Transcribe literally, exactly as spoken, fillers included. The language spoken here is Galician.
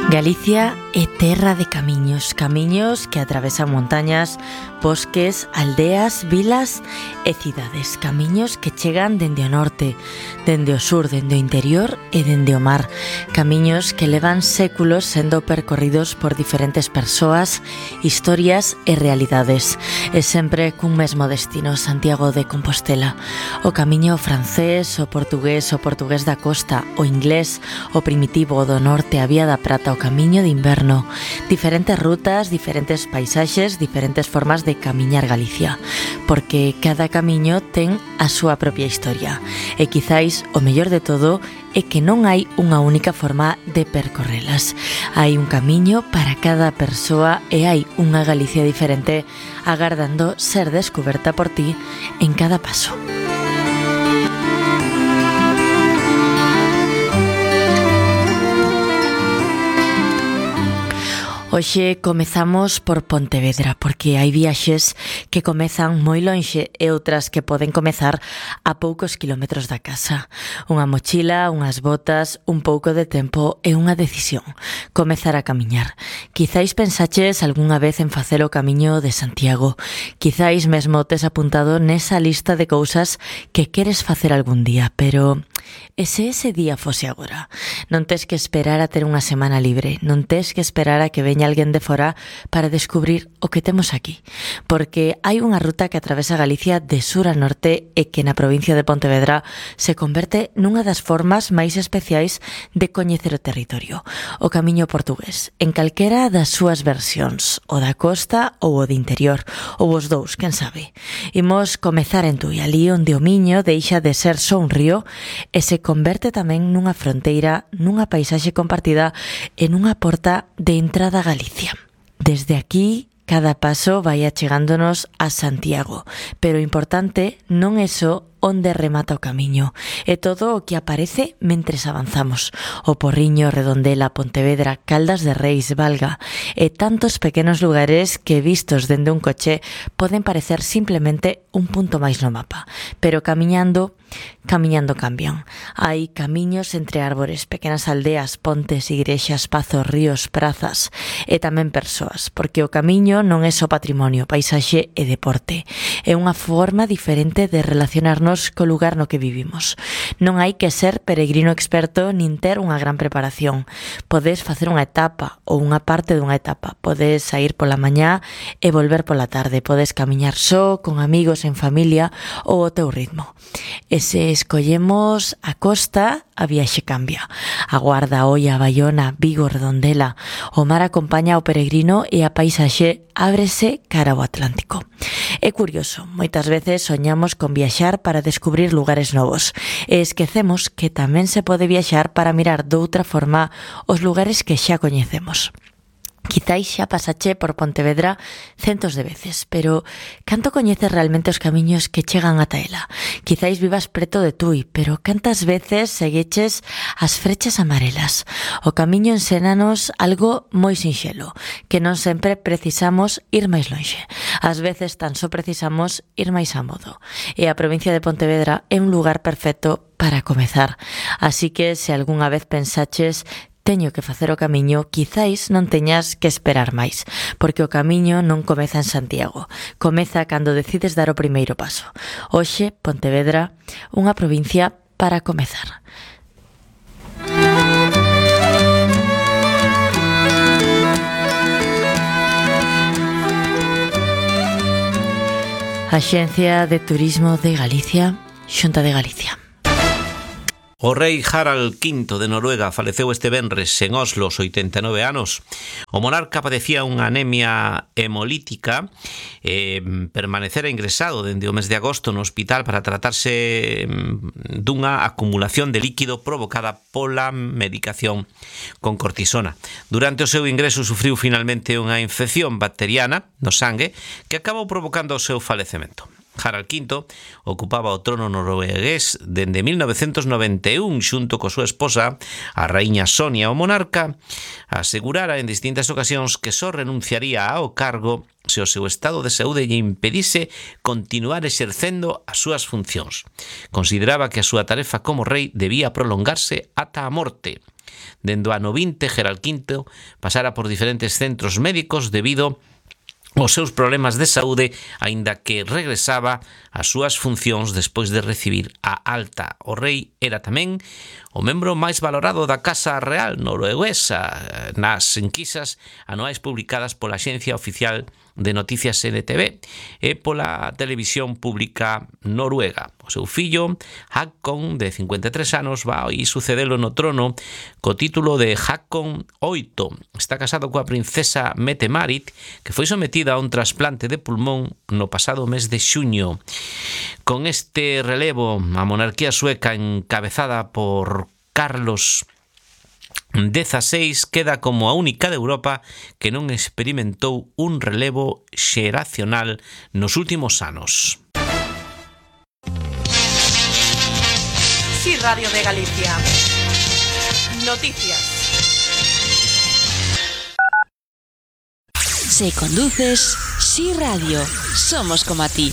Galicia é terra de camiños, camiños que atravesan montañas, bosques, aldeas, vilas e cidades. Camiños que chegan dende o norte, dende o sur, dende o interior e dende o mar. Camiños que levan séculos sendo percorridos por diferentes persoas, historias e realidades. E sempre cun mesmo destino, Santiago de Compostela. O camiño francés, o portugués, o portugués da costa, o inglés, o primitivo, o do norte, a Vía da Prata, o camiño de inverno, diferentes rutas, diferentes paisaxes, diferentes formas de camiñar Galicia, porque cada camiño ten a súa propia historia, e quizáis o mellor de todo é que non hai unha única forma de percorrelas. Hai un camiño para cada persoa e hai unha Galicia diferente agardando ser descuberta por ti en cada paso. Hoxe comezamos por Pontevedra, porque hai viaxes que comezan moi lonxe e outras que poden comezar a poucos kilómetros da casa. Unha mochila, unhas botas, un pouco de tempo e unha decisión: comezar a camiñar. Quizáis pensaches algunha vez en facer o camiño de Santiago. Quizáis mesmo tes apuntado nesa lista de cousas que queres facer algún día, pero e se ese día fose agora? Non tes que esperar a ter unha semana libre, non tes que esperar a que veña alguén de fora para descubrir o que temos aquí, porque hai unha ruta que atravesa Galicia de sur a norte e que na provincia de Pontevedra se converte nunha das formas máis especiais de coñecer o territorio, o camiño portugués, en calquera das súas versións, o da costa ou o de interior, ou os dous, quen sabe. Imos comezar en Tui, ali onde o Miño deixa de ser só un río e se converte tamén nunha fronteira, nunha paisaxe compartida e nunha porta de entrada a Galicia. Desde aquí, cada paso vai achegándonos a Santiago, pero o importante non é só onde remata o camiño, é todo o que aparece mentres avanzamos. O Porriño, Redondela, Pontevedra, Caldas de Reis, Valga e tantos pequenos lugares que vistos dende un coche poden parecer simplemente un punto máis no mapa, pero camiñando Camiñando cambian. Hai camiños entre árbores, pequenas aldeas, pontes, igrexas, pazos, ríos, prazas e tamén persoas, porque o camiño non é só patrimonio, paisaxe e deporte. É unha forma diferente de relacionarnos co lugar no que vivimos. Non hai que ser peregrino experto nin ter unha gran preparación. Podes facer unha etapa ou unha parte dunha etapa. Podes sair pola mañá e volver pola tarde. Podes camiñar só, con amigos, en familia ou ao teu ritmo. E se escollemos a costa, a viaxe cambia. A Guarda, Oia, Baiona, Vigo, Redondela. O mar acompaña ao peregrino e a paisaxe ábrese cara ao Atlántico. É curioso, moitas veces soñamos con viaxar para descubrir lugares novos e esquecemos que tamén se pode viaxar para mirar doutra forma os lugares que xa coñecemos. Quizáis xa pasache por Pontevedra centos de veces, pero canto coñeces realmente os camiños que chegan ata ela? Quizáis vivas preto de Tui, pero cantas veces segueches as frechas amarelas? O camiño ensénanos algo moi sinxelo, que non sempre precisamos ir máis lonxe. Ás veces tan só precisamos ir máis a modo. E a provincia de Pontevedra é un lugar perfecto para comezar. Así que se algunha vez pensaches teño que facer o camiño, quizáis non teñas que esperar máis, porque o camiño non comeza en Santiago, comeza cando decides dar o primeiro paso. Hoxe, Pontevedra, unha provincia para comezar. Axencia de Turismo de Galicia, Xunta de Galicia. O rei Harald quinto de Noruega faleceu este venres en Oslo aos oitenta e nove anos. O monarca padecía unha anemia hemolítica e permanecera ingresado dende o mes de agosto no hospital para tratarse dunha acumulación de líquido provocada pola medicación con cortisona. Durante o seu ingreso sufriu finalmente unha infección bacteriana no sangue que acabou provocando o seu falecemento. Harald quinto ocupaba o trono noruegués dende mil novecentos noventa e un xunto coa súa esposa, a raíña Sonia. O monarca asegurara en distintas ocasións que só renunciaría ao cargo se o seu estado de saúde lle impedise continuar exercendo as súas funcións. Consideraba que a súa tarefa como rei debía prolongarse ata a morte. Dende o ano vinte, Gerald Quinto pasara por diferentes centros médicos debido os seus problemas de saúde, aínda que regresaba ás súas funcións despois de recibir a alta. O rei era tamén o membro máis valorado da Casa Real norueguesa nas enquisas anuais publicadas pola Axencia Oficial de Noticias N T V e pola Televisión Pública Noruega. O seu fillo, Haakon, de cincuenta e tres anos, vai sucedelo no trono co título de Haakon oito. Está casado coa princesa Mette-Marit, que foi sometida a un trasplante de pulmón no pasado mes de xuño. Con este relevo, a monarquía sueca encabezada por Carlos dieciséis queda como a única de Europa que non experimentou un relevo xeracional nos últimos anos. Sí, Radio de Galicia. Noticias. Si conduces, Sí Radio. Somos como a ti.